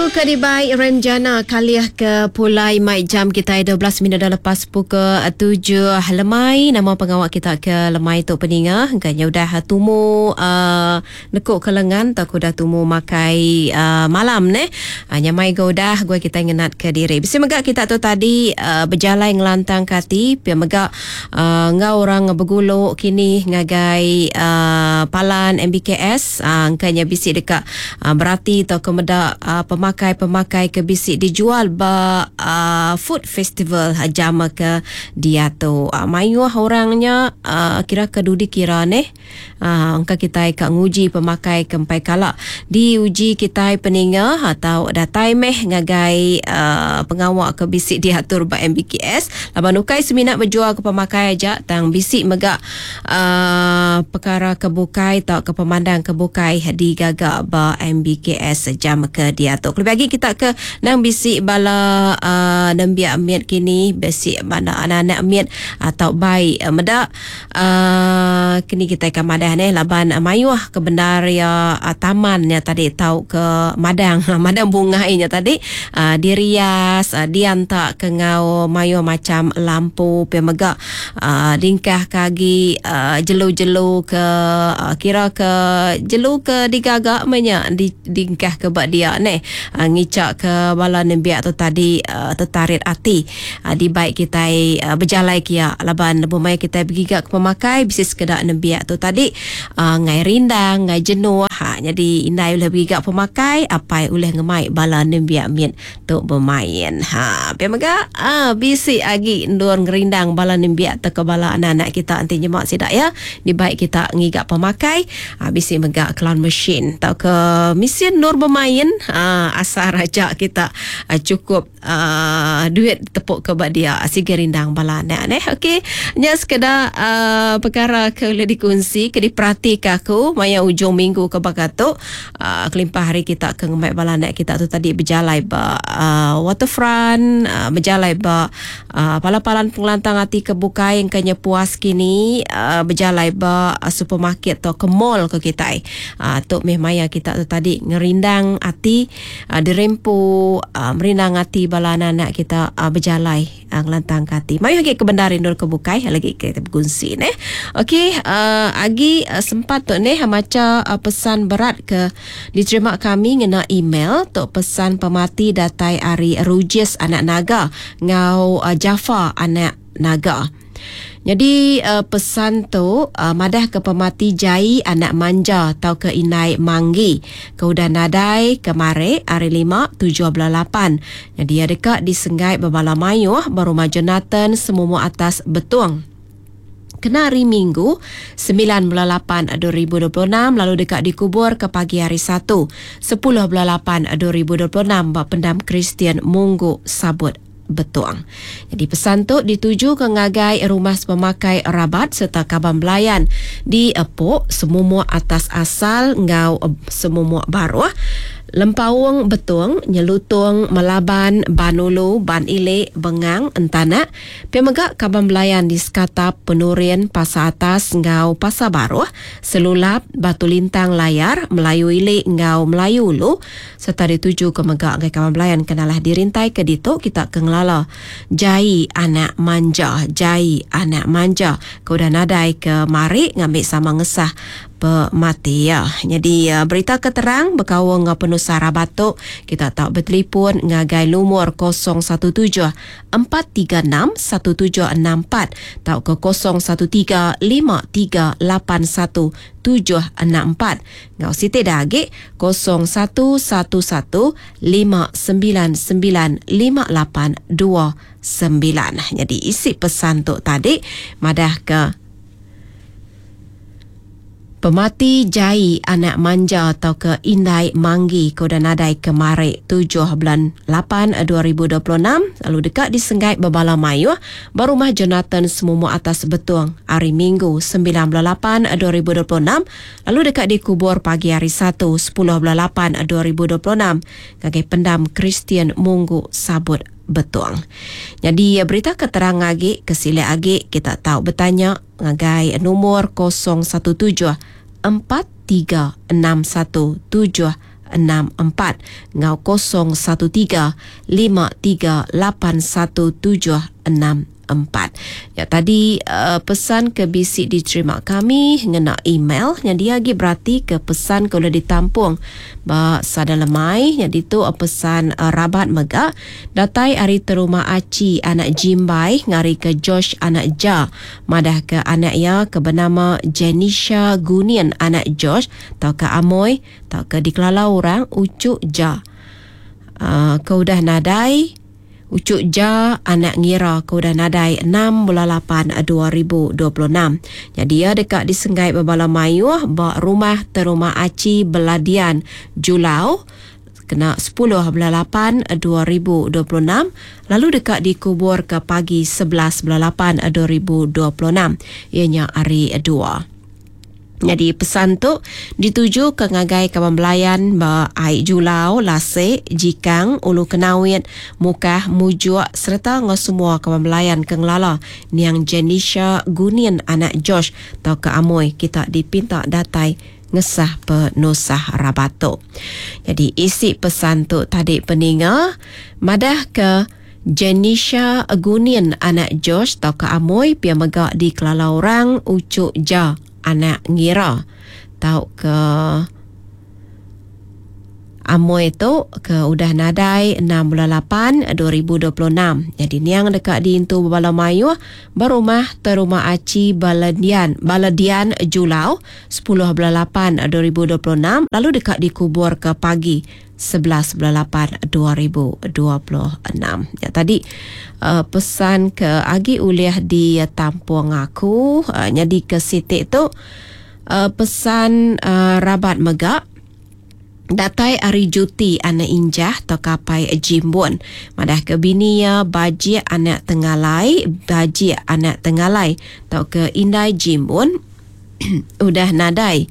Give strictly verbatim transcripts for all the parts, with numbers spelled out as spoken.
Lagu ke dibai Renjana kalih ke pulai mai jam kita dua belas minit dah lepas pukul tujuh lemai. Nama pengawak kita ke lemai tu peninga. Kayaknya udah tumu uh, nekuk ke lengan atau udah tumu makai uh, malam ne. Uh, nyamai go udah gue kita ngenat ke diri. Bisa mega kita tu tadi uh, berjalai ngelantang kati. Pia mega uh, ngau orang beguluk kini ngagai uh, palan M B K S. Uh, kayaknya bisi dekat uh, berarti atau kemedak uh, pemakai-pemakai ke bisi dijual ba uh, food festival jam ke dia tu. Uh, mayuh orangnya uh, kira ke dudi kira neh. Uh, angka kita ka nguji pemakai kempai kala diuji kita peninga atau datai meh ngagai uh, pengawak ke bisi diatur ba M B K S. Laban ukai seminat berjual ke pemakai aja tang bisi mega uh, perkara kebukai atau ke pemandang kebukai digagak ba M B K S jam ke dia tu. Lebih lagi kita ke nang bisi bala uh, nembiak miat kini bisi mana anak-anak miat atau baik uh, medak uh, kini kita ke madah ni laban uh, mayuh ke bendar ya uh, tamannya tadi tau ke madang madang bungainya tadi uh, dirias uh, diantak ke ngau mayuh macam lampu pe mega uh, dingkah kagi uh, jelu-jelu ke uh, kira ke jelu ke digagak menya di dingkah ke bak dia ni uh, ngicak ke bala nembiak tu tadi uh, tertarik hati uh, di baik kita uh, berjalai kia laban bumai kita bergigak ke pemakai bisi sekedak nembiak tu tadi uh, ngai rindang ngai jenuh ha jadi indai boleh bergigak pemakai apai boleh ngemai bala nembiak mit tu bermain ha pe mega ah uh, bisi agi ndur ngerindang bala nembiak te ke bala anak-anak kita anti nyemak sidak ya di baik kita ngigak pemakai uh, bisi mega clown machine tau ke mesin nur bermain uh, asal raja kita uh, cukup uh, duit tepuk ke bak dia sige rindang bala anak neh. Okey nya sekeda uh, perkara ke boleh dikongsi ke diperhati ke aku maya ujung minggu ke bakatuk uh, kelimpah hari kita ke ngemai bala anak kita tu tadi berjalai ba uh, waterfront uh, berjalai ba uh, palan-palan pengelantang hati ke bukai yang kena puas kini uh, berjalai ba uh, supermarket atau ke mall ke kita uh, tok meh maya kita tu tadi ngerindang hati uh, dirempu uh, merindang hati bala anak-anak kita uh, berjalai uh, ngelantang hati. Mayu lagi ke bandar indul ke bukai lagi kita berkongsi neh. Okey uh, agi uh, sempat tu neh maca uh, pesan berat ke diterima kami ngena email tok pesan pemati datai ari Rujis anak naga ngau uh, Jafar anak naga. Jadi uh, pesan tu uh, madah ke pemati Jai anak manja atau ke inai manggi. Ke udah nadai kemare hari lima tujuh belas lapan. Jadi ia dekat disenggai berbala mayuh berumah Jonathan semua atas betung. Kena hari Minggu sembilan bulan lapan dua ribu dua puluh enam lalu dekat dikubur ke pagi hari Satu sepuluh bulan lapan dua ribu dua puluh enam bak pendam Kristian Munggu Sabut Betuang. Jadi pesan tu dituju ke ngagai rumah pemakai rabat serta kaban belayan di Epok semumuk atas asal ngau semumuk baruh Lempaung Betung, Nyelutung, Melaban, Banulu, Ban Ilik, Bengang, Entanak, pemegak kaban belayan di Sekatap, Penurian, Pasar Atas, Ngau, Pasar Baruh, Selulap, Batu Lintang, Layar, Melayu Ilik, Ngau, Melayu Ulu, serta dituju ke megak ngai kaban belayan kenalah dirintai ke ditu kita ke ngelala. Jai anak manja, jai anak manja. Kau dah nadai ke mari ngambil sama ngesah pemati ya. Jadi uh, berita keterang berkawang ngau penusah rabatuk kita tak bertelefon ngagai lumur kosong satu tujuh empat tiga enam satu tujuh enam empat atau ke kosong satu tiga lima tiga lapan satu tujuh enam empat. Ngau siti dagik kosong satu satu satu lima sembilan sembilan lima lapan dua sembilan. Jadi isi pesan tu tadi madah ke pemati Jai anak manja atau ke Indai Manggi koda nadai kemarik tujuh bulan lapan dua ribu dua puluh enam lalu dekat disenggai berbala mayuh berumah Jonathan semumuk atas Betung hari Minggu sembilan bulan lapan dua ribu dua puluh enam lalu dekat dikubur pagi hari Satu sepuluh bulan lapan dua ribu dua puluh enam ngagai pendam Kristian Munggu Sabut Betung. Jadi berita keterang agi kesilih agi kita tahu bertanya ngagai nomor kosong satu tujuh empat tiga enam satu tujuh enam empat ngau kosong satu tiga lima tiga lapan satu tujuh enam empat. Ya tadi uh, pesan ke bisi diterima kami ngena email yang dia lagi berarti ke pesan ke boleh ditampung ba sada lemai. Yang itu uh, pesan uh, rabat mega datai ari terumah Aci anak Jimbai ngari ke Josh anak Ja madah ke anak ia ke bernama Jenisha Gunian anak Josh tau ke Amoy tau ke dikelala orang Ucuk Ja. Uh, ke udah nadai Ucuk Ja anak ngira ke udah nadai enam bulan lapan dua ribu dua puluh enam. Jadi ia dekat disenggai berbala mayuh ba rumah terumah Aci Beladian Julau kena sepuluh bulan lapan dua ribu dua puluh enam lalu dekat dikubur ke pagi sebelas bulan lapan dua ribu dua puluh enam ianya hari dua. Jadi pesan tu dituju ke ngagai kawan belayan ba Aik Julau, Lasik, Jikang, Ulu Kenawit, Mukah, Mujuk serta ngau semua kawan belayan ke ngelala niang Jenisha Gunian anak Josh tau ke Amoy kita dipinta datai ngesah penusah rabatuk. Jadi isi pesan tu tadi peninga madah ke Jenisha Gunian anak Josh tau ke Amoy pia mega dikelala orang Ucuk Ja anak ngira tau ke Amoy tu ke udah nadai enam bulan lapan dua ribu dua puluh enam. Jadi niang dekat diintu bala mayuh berumah terumah Aci Baladian Baladian Julau sepuluh bulan lapan dua ribu dua puluh enam lalu dekat dikubur ke pagi sebelas bulan lapan dua ribu dua puluh enam. Ya tadi uh, pesan ke agi uliah di tampung aku uh, jadi ke sitik tu uh, pesan uh, rabat megak datai ari juti anak injah atau kapai jimbun. Madah ke bini ya bajik anak tengalai, bajik anak tengalai atau ke indai jimbun udah nadai.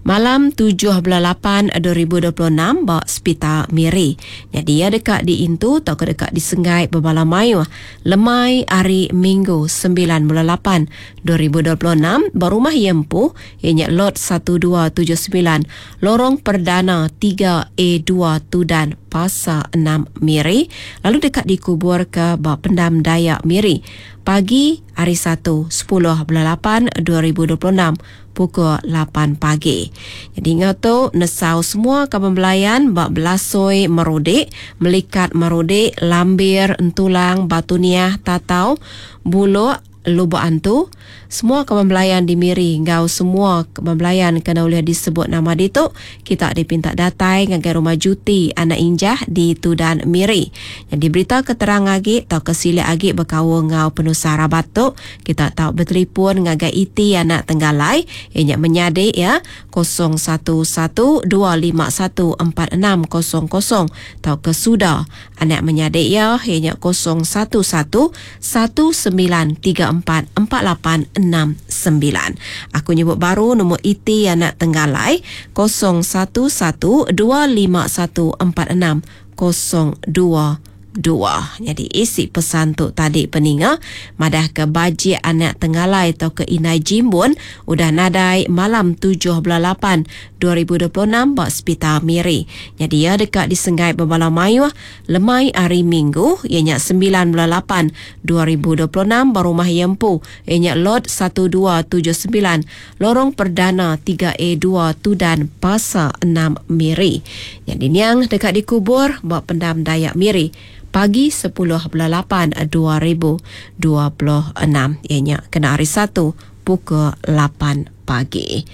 Malam tujuh bulan lapan dua ribu dua puluh enam ba Hospital Miri. Jadi ia dekat diintu atau ke dekat disenggai berbala mayuh. Lemai hari Minggu sembilan bulan lapan dua ribu dua puluh enam ba rumah Yempu ianya lot satu dua tujuh sembilan Lorong Perdana tiga A dua Tudan Pasar enam Miri lalu dekat dikubur ke ba Pendam Dayak Miri pagi hari Satu sepuluh bulan lapan dua ribu dua puluh enam pukul lapan pagi. Jadi ngau tu nesau semua kaban belayan bak belasoi merodik, melikat merodik, lambir, entulang, batu niah, tatau, buluk, lubuk antu, semua kaban belayan di Miri ngau semua kaban belayan kena boleh disebut nama ditu, kita dipinta datai ngagai rumah juti anak injah di Tudan Miri. Jadi berita keterang agi atau kesilik agi berkaul ngau penusah rabat tu, kita tahu bertelefon ngagai iti anak tenggalai ianya menyadik ya kosong satu satu dua lima satu empat enam kosong kosong atau ke suda anak menyadik ya ianya kosong satu satu satu sembilan tiga empat empat lapan enam sembilan. Aku nyebut baru nombor iti anak tenggalai kosong satu satu dua lima satu empat enam kosong dua dua. Jadi isi pesan tu tadi peninga madah ke bajik anak tenggalai atau ke inai jimbun udah nadai malam tujuh bulan lapan dua ribu dua puluh enam ba Hospital Miri. Jadi ia dekat disenggai berbala mayuh lemai hari Minggu ianya sembilan bulan lapan dua ribu dua puluh enam ba rumah Yempu ianya lot satu dua tujuh sembilan Lorong Perdana tiga A dua Tudan Pasar enam Miri. Jadi niang dekat dikubur ba Pendam Dayak Miri pagi sepuluh bulan lapan dua ribu dua puluh enam ianya kena hari Satu pukul lapan pagi.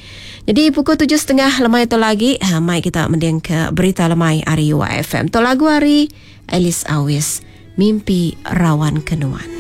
Jadi pukul tujuh setengah lemai tu lagi, ha, mai kita mending ke berita lemai hari U F M. Tu lagu hari Alice Awis, Mimpi Rawan Kenuan.